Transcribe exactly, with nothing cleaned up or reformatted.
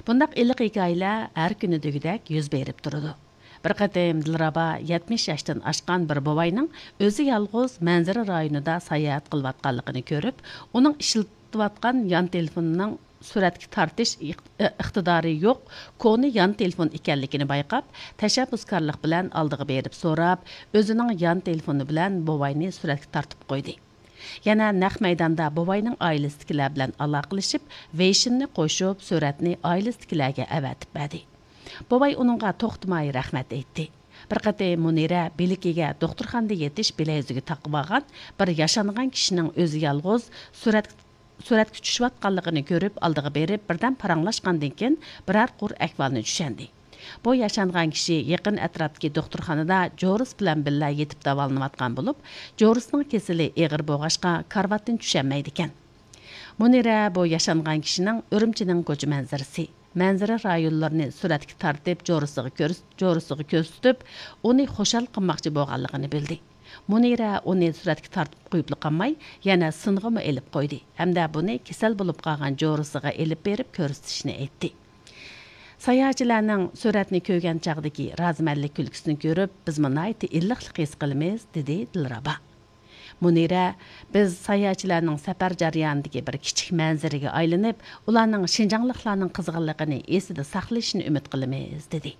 بۇنداق ئىللىق ھېكايىلەر ھەر كۈنى دېگۈدەك يۈز بېرىپ تۇرىدۇ. بىر قېتىم دىلرابا يەتمىش ياشتىن ئاشقان بىر بوۋاينىڭ ئۆزى يالغۇز مەنزىرە رايونىدا ساياھەت قىلىۋاتقانلىقىنى كۆرۈپ، ئۇنىڭ ئىشلىتىۋاتقان يان تېلېفونىنىڭ سۈرەتكە تارتىش ئىق-، ئىقتىدارى يوق، كونا يان تېلېفون ئىكەنلىكىنى بايقاپ، تەشەببۇسكارلىق بىلەن ئالدىغا بېرىپ سوراپ، ئۆزىنىڭ يان تېلېفونى بىلەن بوۋاينى سۈرەتكە تارتىپ قويدى. يەنە نەق مەيداندا بوۋاينىڭ ئائىلىسىدىكىلەر بىلەن ئالاقىلىشىپ، ۋېيشىننى قوشۇپ، سۈرەتنى ئائىلىسىدىكىلەرگە ئەۋەتىپ بەردى. بوۋاي ئۇنىڭغا توختىماي رەھمەت ئېيتتى. بىر قېتىم مۇنىرە بىلىكىگە دوختۇرخانىدا يېتىش بىلەيزۈكى تاقىۋالغان بىر ياشانغان كىشىنىڭ ئۆزى يالغۇز سۈرەت، سۈرەتكە چۈشۈۋاتقانلىقىنى كۆرۈپ، ئالدىغا بېرىپ، بىردەم پاراڭلاشقاندىن كېيىن، بىرەر قۇر ئەھۋالنى چۈشەندى. بۇ ياشانغان كىشى يېقىن ئەتراپتىكى دوختۇرخانىدا جورىسى بىلەن بىللە يېتىپ داۋالىنىۋاتقان بولۇپ، جورىسىنىڭ كېسىلى ئېغىر بولغاچقا، كارىۋاتتىن چۈشەلمەيدىكەن. مۇنىرە بۇ ياشانغان كىشىنىڭ ئۈرۈمچىنىڭ كوچا مەنزىرىسى، مەنزىرە رايونلىرىنى سۈرەتكە تارتىپ، جورىسىغا كۆرس-، جورىسىغا كۆرسىتىپ، ئۇنى خۇشال قىلماقچى بولغانلىقىنى بىلدى. مۇنىرە ئۇنى سۈرەتكە تارتىپ قويۇپلا قالماي، يەنە سىنغىمۇ ئېلىپ قويدى ھەمدە بۇنى كېسەل بولۇپ قالغان جورىسىغا ئېلىپ بېرىپ كۆرسىتىشنى ئېيتتى. ساياھەتچىلەرنىڭ سۈرەتنى كۆرگەن چاغدىكى رازىمەنلىك كۈلكىسىنى كۆرۈپ، بىزمۇ ناھايىتى ئىللىقلىق ھېس قىلىمىز، دېدى دىلرابا. مۇنىرە، بىز ساياھەتچىلەرنىڭ سەپەر جەريانىدىكى بىر كىچىك مەنزىرىگە ئايلىنىپ، ئۇلارنىڭ شىنجاڭلىقلارنىڭ قىزغىنلىقىنى ئېسىدە ساقلىشىنى ئۈمىد قىلىمىز، دېدى.